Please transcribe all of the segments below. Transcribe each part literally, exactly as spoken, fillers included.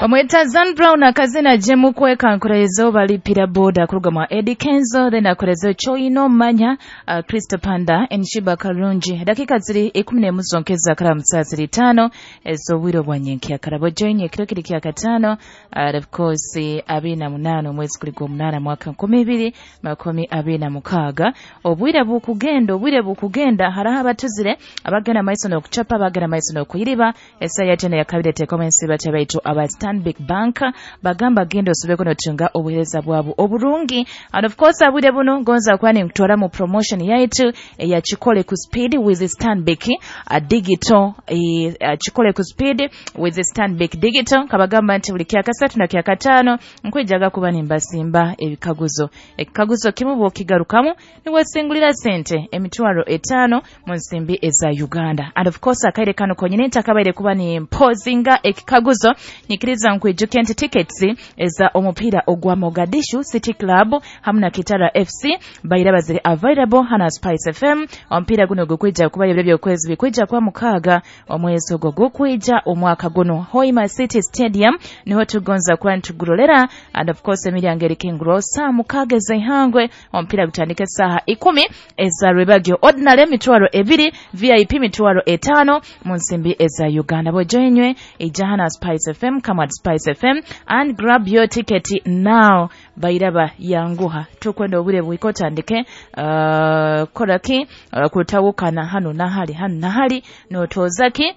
Bamweta Zan Brown akazina jemu kweka nkurezo balipira boda kuruga mwa Eddie Kenzo, then akorezo Choino Manya, uh, Kristo Panda Enshiba Karungi. Dakika ziri ikumi n'emu zonkeza kara msaa tano ez'obwire bwa nyenkya karabo join ekiro kiri kya katano, uh, of course abiri na munana omwezi guli gw'omunaana mwaka nkumi ibiri makumi abiri na mukaaga. Obwire bukugenda, obwire bukugenda, haraho abatuzire abagenda maiso n'okuchapa, abagenda maiso n'okuyiriba. Esa yatene yakabire tekomensi batebaitu aba Stanbic Bank bagamba genda osobeko notunga obuhereza bwabo oburungi. And of course abwire buno ngonza kwani nkutwara mu promotion yaitu ya Chikole ku Speed with Stanbic a digital, e, a Chikole ku Speed with Stanbic Digital. Kabagamba nti buli kyakasatu na kyakatano nkwijaga kuba nimbasimba ebikaguzo. Ekikaguzo kimu bw'okigarukamu niwesingulira sente emitwaro etaano mu nsimbi eza Uganda. And of course akaire kano konyine ntakabaire kuba ni mpozinga ekikaguzo nyikiriza nkwijuke nti tickets eza omupiira ogwa Mogadishu City Club hamwe na Kitara F C baira baziri available hana Spice F M. Omupiira guno gukwija kuba ebyo by'okwezi bikwija kwa mukaaga omwezi ogwo gukwija omwaka guno Hoima City Stadium niho tugonza kuba ntugurolera. And of course emiryango eri King saa mukaaga ez'eihangwe, omupiira gutandika essaaha ikumi eza rwebagyo. Ordinary emitwaro ebiri, V I P mitwaro etaano mu nsimbi eza Uganda. Bojoinywe ijahana Spice F M, come at Spice F M and grab your ticket now. Bairaba yanguha tukwenda obure bwikotandike uh, koraki uh, kutawukana hano nahali hano nahali notozaki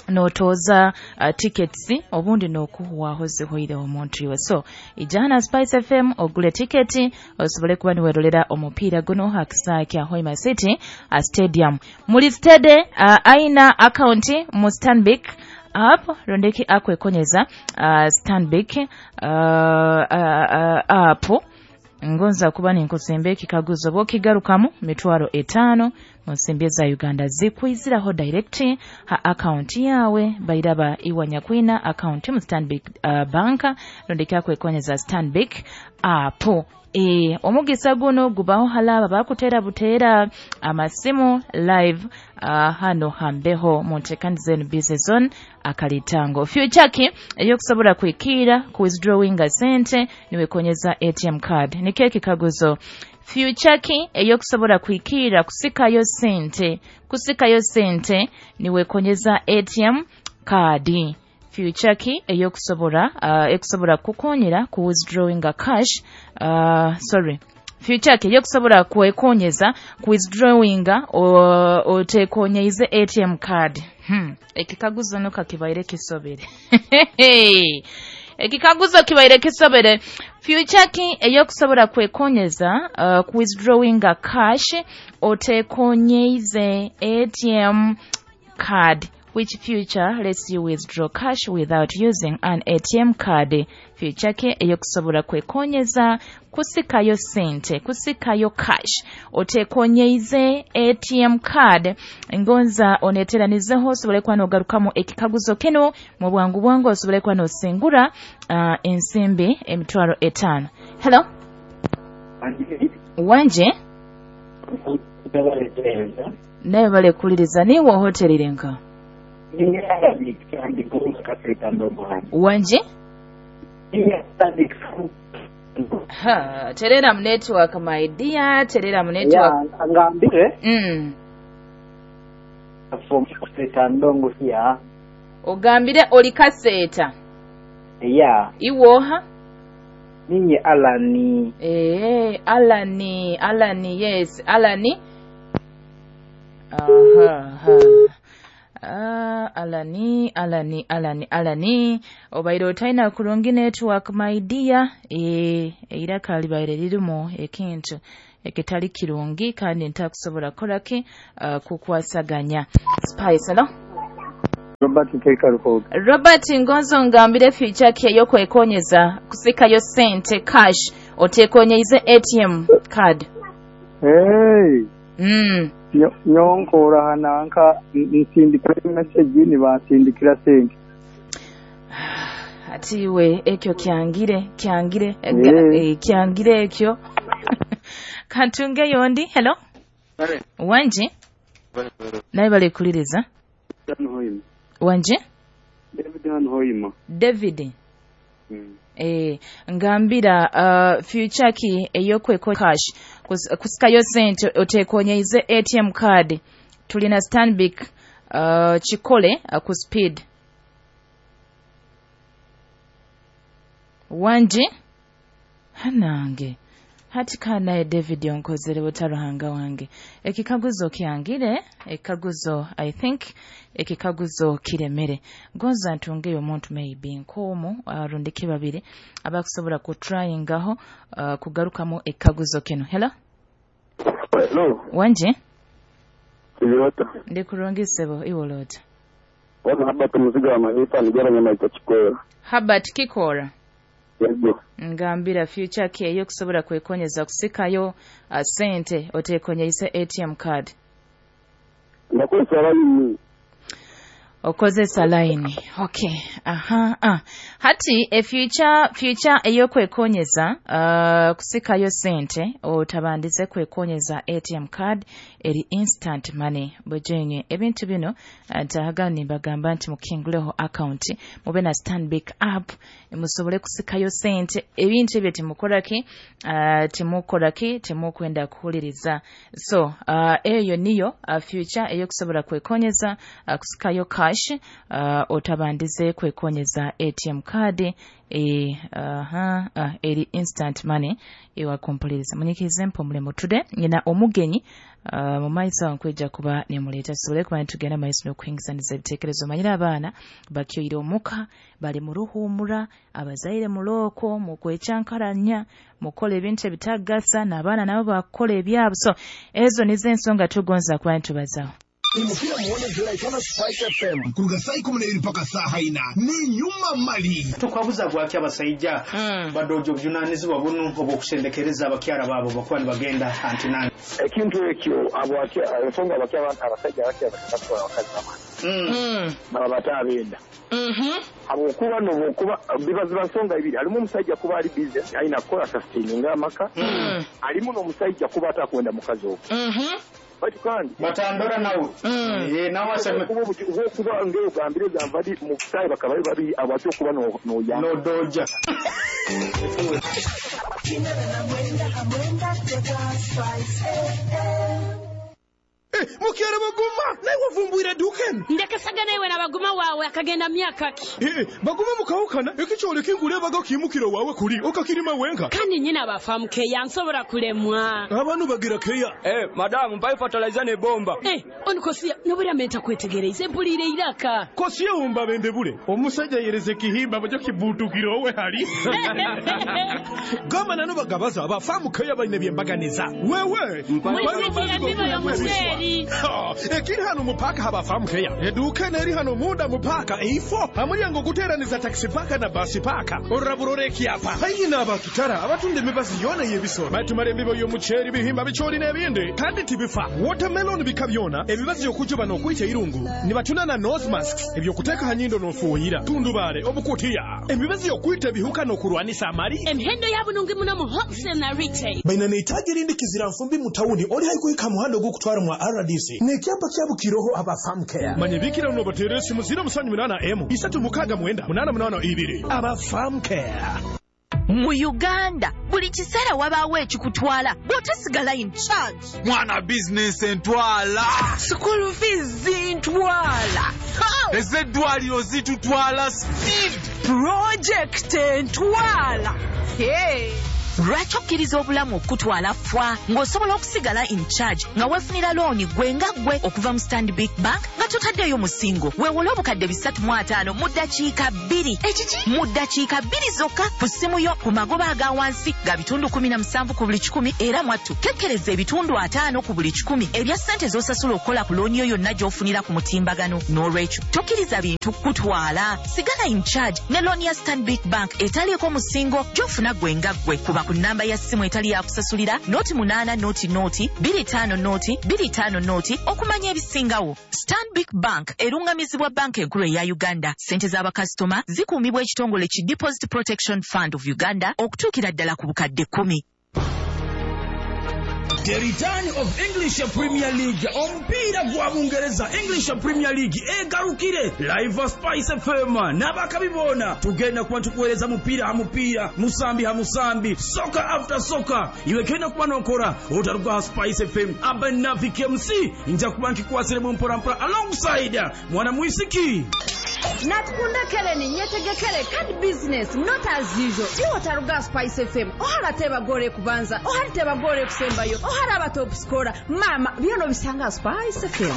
notoza uh, tickets obundi nokuhuwaho zihoire omuntu iwe. So ijana Spice F M ogule tiketi osobole kuba niwerolera omupiira guno hakisa kya Hoima City uh, Stadium. Muli stede uh, aina account mu Stanbic app rondeki akwekonyeza uh, Stanbic uh, uh, uh, app ngonza kuba ninkusembe ekikaguzo bw'okigarukamu mitwaro etaano mu nsimbi za Uganda zikwiziraho direct ha account yawe bairaba iwanyakwina account mu Stanbic uh, Bank rondeki akwekonyeza Stanbic app. E, omugisa guno gubaho halaba bakutera butera amasimu live uh, hano hambeho muntekanize N B C zone akalitango future ki eyokusobola kwikira ku withdrawinga sente niwekonyeza A T M card. Nike kikaguzo future ki eyokusobola kwikira kusikayo sente kusikayo sente niwekonyeza A T M card. Future ki eyokusobola uh, ekusobola kukonyera ku withdrawinga cash uh, sorry future ki eyokusobola kwekonyeza ku withdrawinga otekonyeize A T M card. Hmm. Ekikaguzo no kakibaire kisobere. Ekikaguzo kibaire kisobere. Future ki eyokusobola kwekonyeza uh, ku withdrawinga cash otekonyeize A T M card. Which future lets you withdraw cash without using an A T M card? Future ke eyokusobola kwekonyeza kusikayo sente, kusikayo cash otekonyeize A T M card. Ngonza oneteranizeho osobole kuba n'ogarukamu ekikaguzo kino mu bwangu bwangu osobole kuba n'osingura uh, ensimbi emitwaro etaano. Hello? Wanje? Naye bale kuliriza niwo hotelire nka? Wanje? Ha, terera mu network my dear, terera mu network. Yeah, ngambire. Mm. From Kaseta Ndongo here. Ogambire oli Kaseta. Yeah. Iwoha? Ninye Alani. Eh, Alani, Alani, yes, Alani. Aha, ha. Ah, Alani, Alani, Alani, Alani. Obaire otaina kurungi network my dear. Eh, era kalibaire lirimu ekintu ekitali kirungi kandi ntakusobola kolaki uh, kukwasaganya. Spice, hello? Robert Kekarukoga. Robert Ngonzo ngambire future ki eyokwekonyeza kusikayo sente cash otekonyeize A T M card. Hey. Mm. Nyonkora hananka nsindikira message ni bansindikira sente. Atiwe ekyo kyangire kyangire hey. Kyangire ekyo. Kantunge yondi. Hello. Wanje? Naye bale kuliriza. Wanje? David Hoima. David. Mm. Eh, ngambira uh, future ki eyokweko cash Kus, kusikayo sente otekonyeize A T M card tulina Stanbic uh, chikole uh, ku speed wanji hanange hati kana David onkozere butaruhanga wange ekikaguzo kyangire ekikaguzo I think ekikaguzo kiremere gonza ntungeyo omuntu maybe nkomu arundike babiri abakusobola ku tryingaho uh, kugarukamu ekikaguzo kino. Hello. Hello. Wanje Iwota ndi kurungisebo iwolota wana Habert muziga wa mahifa nigera nyama itachikora Habert kikora. Yego. Ngambira future ke eyo kusobola kwekonyeza kusikayo uh, sente otekonyeza A T M card. Ndakozesa line. Okozesa line. Okay. Aha. Ah. Hati e future future eyo kwekonyeza uh, kusikayo sente otabandize kwekonyeza A T M card eri instant money bojenye ebintu bino ntahagani bagamba nti mukinguleho account mube na Stanbic app musobole kusikayo sente ebintu ebyo timukoraki uh, timukoraki timukwenda kuhuliriza. So uh, eyo niyo uh, future eyo kusobola kwekonyeza uh, kusikayo cash uh, otabandize kwekonyeza A T M card e aha uh, uh, eri instant money ewa kompuliriza munyikize mpomule mutude nyina omugenyi uh, mu maiso nkweja kuba nemuleta sobole kuba ntugenda maiso n'okuhingizaniza ebitekerezo manyira abaana bakyoyire omuka bali mu ruhumura abazaire muloko mu kwechankaranya mukole ebintu ebitagasa n'abaana nabo bakola ebyabo. So ezo nizo ensonga tugonza kuba ntubazaho. Imukira muone jura Spice F M kuruga saa ikumi na ibiri mpaka saa haina ni nyuma mali tukwabuza gwaki abasajja mm. badojo bujunanizibwa bunu obwokusendekereza abakyala babo bakuba nibagenda antinani ekintu ekyo abo ensonga abakyala abasajja abakyala batwala abakazi bamani mm. baba batabenda mhm abokuba nobokuba bibaziba nsonga ibiri alimu omusajja kuba ali busy alina kukola sustaining amaka mm. alimu n'omusajja kuba atakwenda mukazi ogwo mhm bati kandi batandora nawe mm. eh nawe aseme kuba kuba ngeo gambire zamvadi mu sai bakaba babi abacho kuba no no ya no doja Eh, mukere baguma naye wavumbwira duken ndekasaga naye na baguma wawe akagenda myaka ki eh baguma mukawukana ekikyole kingule baga kimukiro wawe kuli okakirima wenka kandi nyina abafamu keya nsobora kulemwa abantu bagira keya eh madamu mbaye fertilizer ne bomba eh onikosia nobura menta kwetegereza empulire iraka kosiye umba bende bule omusajja yereze kihimba bajo kibutukiro we hali gama nano bagabaza abafamu keya bayine byembaganiza wewe mbaye ekiri hano mupaka habafamu keya eduka neri hano munda mupaka eifo amulyango guteraniza taxi paka na basi paka oraburore kiapa hayi n'abakitara abatunda emibazi yona y'ebisoro batumara embibo y'omuceeri bihimba bicoori n'ebindi kandi tibifa watermelon bika byona ebibazi okujuba n'okuyita irungu nibatunda na nose masks ebyokuteeka ha nyindo n'ofuuyira tundubale obukutiya emibazi y'okuyita ebihuka n'okurwanisa amali emihendo yabunungi muno mu wholesale na retail baina neitaji rindi kizira nfumbi mu tawuni oli haikuhika muhando ogw'okutwara mwa R D C nekyapa kyabukiroho abafamu care manyebikira unobatere esimu ziro musanju munana emu isatu mukaga mwenda munana munana ibiri abafamu care mu Uganda buli kiseera wabaawo ekikutwala bw'otosigala in charge mwana business entwala school fees zintwala ez'eddwaliro zitutwala speed project entwala hey. Lwaki okkiriza obulamu okutwala fwa ng'osobola okusigala in charge nga weefunira looni gwe nga gwe okuva mu Stanbic Bank nga totaddeeyo musingo weewole obukadde bisatu mu ataano mu ddakiika bbiri ekiki mu ddakiika bbiri zokka ku ssimu yo ku magoba aga wansi ga bitundu kumi na musanvu ku buli kikumi era mwattu kekkereza ebitundu ataano ku buli kikumi ebya ssente z'osasula okukola ku looni yo yonna gy'ofunira ku mutimbagano. N'olwekyo tokkiriza bintu kutwala, sigala in charge ne looni ya Stanbic Bank etaliiko musingo gy'ofuna gwe nga gwe kuba ku namba ya simu etali ya kusasulira noti munaana noti noti bbiri ttaano noti bbiri ttaano noti okumanya ebisingawo. Stanbic Bank erungamizibwa banka enkulu eya Uganda. Ssente z'abakasitoma zikuumibwa ekitongole ki Deposit Protection Fund of Uganda okutuukira ddala ku bukadde kkumi. The return of English Premier League, omupiira gwa Bungereza English Premier League egarukire live Spice F M n'abakabi boona tugenda kuba tukuweereza mupiira ha mupiira, musambi ha musambi, soccer after soccer. Iwe kenda kuba nokora otaruga ha Spice F M Abanavi K M C nja kuba nkikwasire mu mpora mpora alongside mwana mwisiki Natukunda keleni nyetegekere kandi business not as usual. Iwo taruga Spice F M. Ohara teba gore kubanza, ohara teba gore kusembayo, ohara aba top scorer. Mama, byono bisanga Spice F M.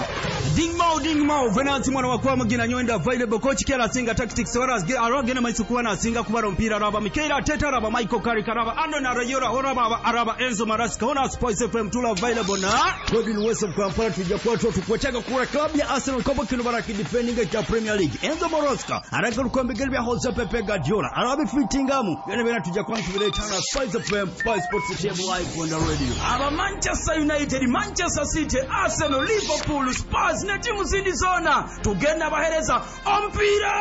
Ding mau ding mau Venanti mwana wakwa mugina nyoenda available coach kera singa tactics wara arogena maisu kuwa na singa kubara mpira raba Mikel Arteta raba Michael Carrick raba Andon Arayora oraba araba Enzo Maresca ona Spice F M tula available na Godwin Wesam Kampala tujja kuwa tukwetega kura club ya Arsenal kobo kino baraki defending cha Premier League. Enzo Maresca aragaruka mbigeri bya Jose Pepe Guardiola arabifitingamu byone byona tujja kuwa tubiretana Spice F M Spice Sports T V live on the radio. Aba Manchester United, Manchester City, Arsenal, Liverpool, Spurs ne timu zindi zona tugenda bahereza ompira.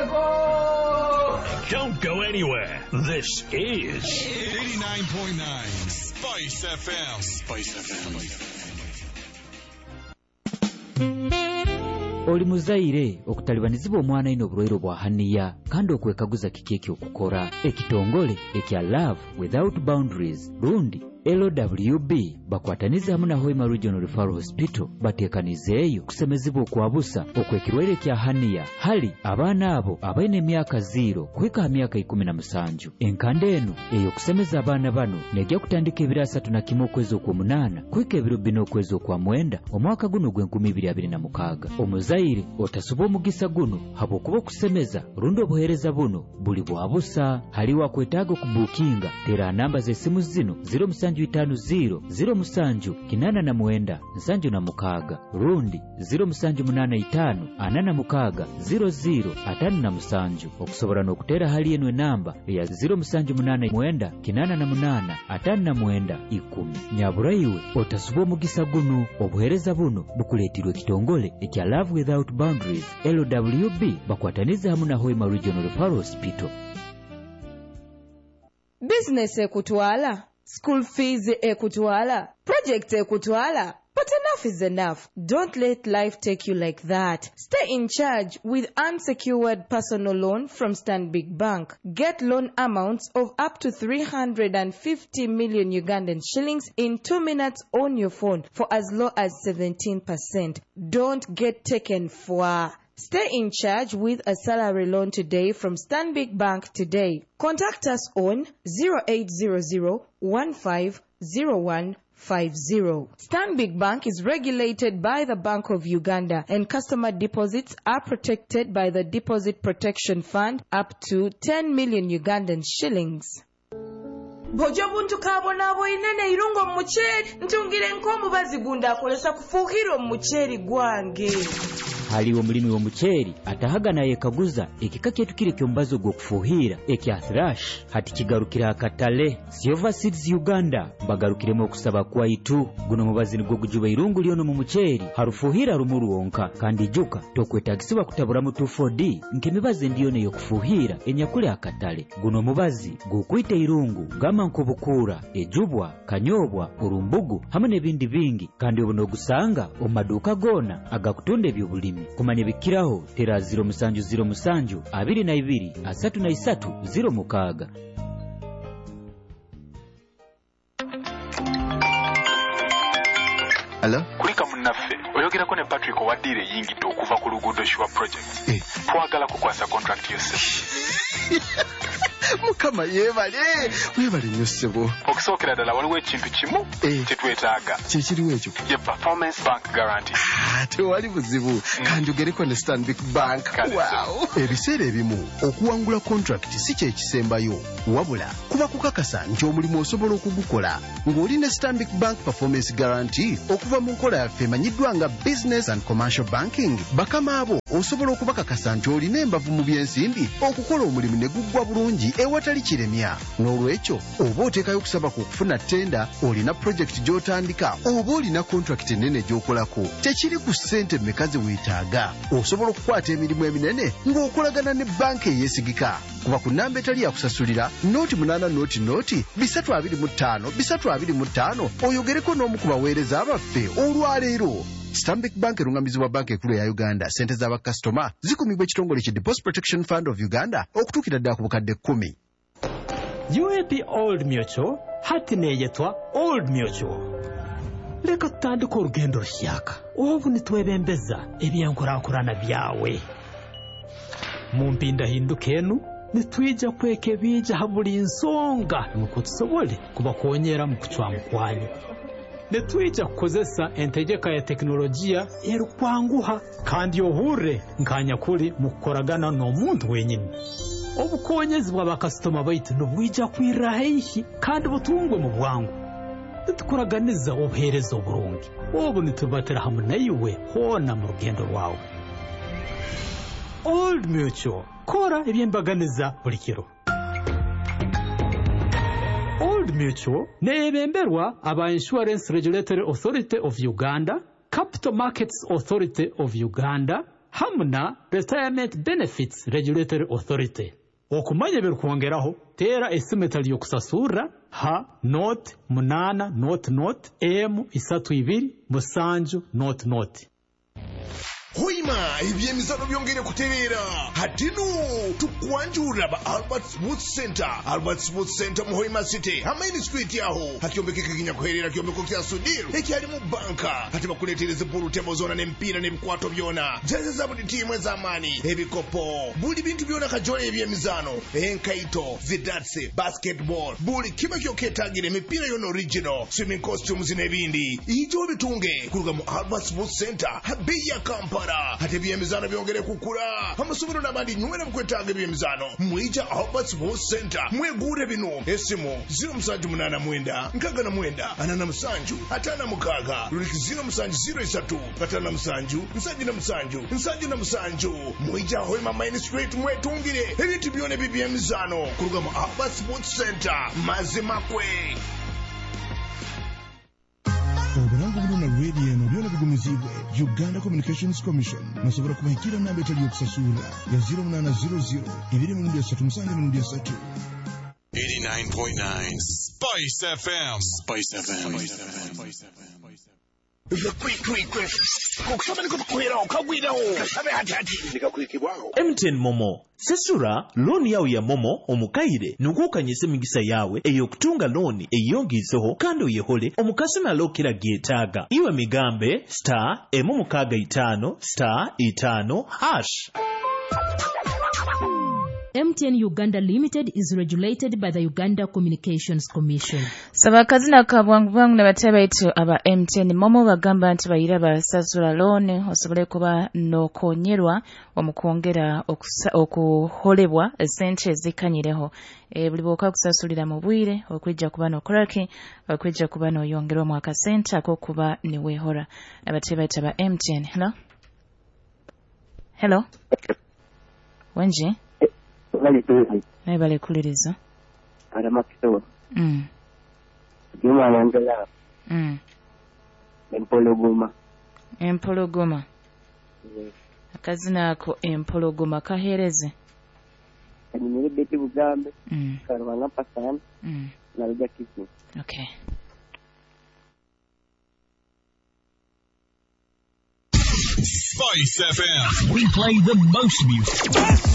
Ego! Don't go anywhere. This is eighty-nine point nine Spice F M. Spice F M. Oli muzaire okutalibanizibwa omwana ino obulwaire bwa haniya kandi okwekaguza kiki ekyokukora ekitongole ekya Love Without Boundaries rundi L W B bakwataniza hamwe na Hoima Regional Referral Hospital batekanizeeyo kusemezibwa okwabusa okwekirwaire kya haniya hali abaana abo abaine emyaka zero kuhika ha myaka ikumi na musanju. Enkanda eno eyokusemeza abaana bano nejja kutandika ebiro asatu na kimu okwezi okwomunaana kuhika ebiro bina okwezi okwa mwenda omwaka guno ogw'enkumi ibiri abiri na mukaaga. Omuzaire otasuba omugisa guno habwokuba okusemeza rundi obuheereza buno buli bwabusa. Haliwo akwetaaga okubuukinga tera namba z'essimu zino zero musanju itano zero zero musanju kinana na mwenda nsanju na mukaaga rundi zero musanju munana itano anana mukaaga zero zero atano na musanju. Okusobola n'okutera hali eno enamba eya zero musanju munana mwenda kinana na munana atano na mwenda ikumi. Nyaburaiwe otasuba omugisa guno. Obuheereza buno bukuleetirwe ekitongole ekya Love Without Boundaries L W B bakwataniza hamwe na Hoima Regional Referral Hospital. Business ekutwala, school fees ekutwala, project ekutwala. But enough is enough. Don't let life take you like that. Stay in charge with unsecured personal loan from Stanbic Bank. Get loan amounts of up to three hundred fifty million Ugandan shillings in two minutes on your phone for as low as seventeen percent. Don't get taken for. Stay in charge with a salary loan today from Stanbic Bank today. Contact us on zero eight zero zero one five zero one five zero. Stanbic Bank is regulated by the Bank of Uganda and customer deposits are protected by the Deposit Protection Fund up to ten million Ugandan shillings. Bojo buntu kabonabo inene irungo mucheri ntungire nkomubazi gunda akolesa kufuhira omucheri gwange. Haliwo mulimi wa mucheri atahaga na yekaguza ekika kyetu kile kyombazo gwokufuhira ekya thrash hati kigarukira akatale. Silver Seeds Uganda bagarukiremo okusaba kwaitu guno mubazi nigwo gujuba irungu lyono mu mucheri harufuhira rumuru wonka kandi ijuka tokwetagisibwa kutaburamu two four D nkemibazi ndiyo neyokufuhira enyakule akatale. Guno mubazi gukwita irungu gama nkobukura ejubwa kanyobwa urumbugu hamwe n'ebindi bingi kandi obuno ogusanga omu maduuka gona agakutunda ebyobulimi. Kumanya bikiraho tera zero musanju zero musanju abiri na ibiri asatu na isatu zero mukaaga. Hello? Kulika munnaffe oyogerako ne Patrick owaddiire eyingidde okuva ku luguudo Sure Project. Eh. Twagala kukwasa contract yose. Mukama yeebale weebale nnyo ssebo. Okusookera ddala waliwo ekintu kimu kye twetaaga. Kye kiriwo ekyo? Ye performance bank guarantee. Ah, tewali buzibu kanjogereko ne Stanbic Bank. Wow. Ebiseera ebimu okuwangula contract si kye kisembayo wabula kuba kukakasa nti omulimu osobola okugukola ng'oli ne Stanbic Bank performance guarantee okuva mu nkola yaffe emanyiddwa nga business and commercial banking. Bakama abo osobola okubakakasa nti olina embavu mu byensimbi okukola omulimu ne guggwa bulungi ewatali kiremya. N'olwekyo oba oteekayo okusaba ku okufuna ttenda, olina pulojekiti gy'otandika oba olina kontrakiti ennene gy'okolako, tekiri ku ssente mmeka ze weetaaga. Osobola okukwata emirimu eminene ng'okolagana ne banka eyeesigika. Kuba ku nnamba etali yakusasulira nooti munaana nooti nooti bisatu abiri mu ttaano bisatu abiri mu ttaano oyogereko n'omu ku baweereza baffe olwaleero. Stanbic Bank erungamizibwa Banka Enkulu eya Uganda. Ssente z'abakasitoma zikumibwa ekitongole ki Deposit Protection Fund of Uganda okutuukira ddala ku bukadde kkumi. U A P Old Mutual hati neyetwa Old Mutual. Leka tutandike orugendo rushyaka obu nitwebembeza ebyenkurakurana byawe. Mu mpindahinduka enu nitwija kwekebija ha buli nsonga nukwo tusobole kubakonyera mu kucwamu kwanyu. Nitwija kukozesa entegeka ya tekinologiya erukwanguha kandi ohurre nkanyakuli mu kukoragana n'omuntu wenyini. Obukonyezi bw'abakasitoma baitu nibwija kwirra haihi kandi butungwe mu bwangu. Nitukuraganiza obuheereza oburungi obu nitubatira hamu naiwe hoona mu rugendo rwawe. Old Mutual, kora ebyembaganiza buli kiro. Old Mutual neebemberwa aba Insurance Regulatory Authority of Uganda, Capital Markets Authority of Uganda hamu na Retirement Benefits Regulatory Authority. Okumanya ebirikwongeraho teera esimu etali y'okusasurra ha noti munaana noti noti emu isatu ibiri musanju noti noti. Hoima ebyemizano byongere kuterera hatinu tukwanjura ba Albert Sports Center. Albert Sports Center mu Hoima City Hamaini Street yaho hakyombekeka kinyakuherera kyombeko kya Sudiru ekyali mu banka hati bakuletereza pool table zona n'emipiira n'ebikwato byona jeze za buli tiimu ez'amaani ebikopo buli bintu byona kajole ebyemizano enkaito zidatsi basketball buli kiba kyoketagire emipiira yona original swimming costumes n'ebindi ijo bitunge kuruga mu Albert Sports Center habeya ya Kampala. Hati ebyemizano byongere kukula amasomero n'abandi nywera mukwetaaga ebyemizano mwija Albert Sports Center mwegure bino esimu ziro musanju munana mwenda nkaga na mwenda anana musanju atana mukaga luliki ziro musanju ziro isatu atana musanju nsanju na musanju nsanju na musanju mwija Hoima Main Street mwetungire ebintu byona ebyemizano kuruga mu Albert Sports Center mazima kwe. Obulango buno na radio eno byona bigumizibwe Uganda Communications Commission. Musobola kubahikira namba etali yokusasula ya ziro munana ziro ziro ibiri mirundi esatu musanju mirundi esatu. eighty-nine point nine Spice F M. Spice F M. Spice F M. M T N Momo sesura looni yawe ya Momo omukaire nukukanyisa emigisa yawe ey'okutunga looni eyongiiseho kandi oyehole omukasumi alokera gyetaaga iwe migambe star emu mukaaga itaano star itaano hash. M T N Uganda Limited is regulated by the Uganda Communications Commission. Sabakazina ka bwangu bwangu n'abatebe baitu aba M T N Momo bagamba nti bayira basasula loan osobole kuba nokonyerwa omukwongera okuholebwa sente zikanyireho. E, buli bwoka kusasulira mu bwire okwijja kuba nokoraki okwijja kuba noyongerwa mu akasente akokuba niwehora. N'abatebe baitu aba M T N. Hello? Hello? Wenji? Naye balekuliriza. Mm. Mm. Empologoma. Empologoma. Akazina ako empologoma kahereze. Kanyimire Betty Bugambe. Mm. Karwanga Pasani. Mm. Naruja Kisi. Okay. Spice F M. We play the most music.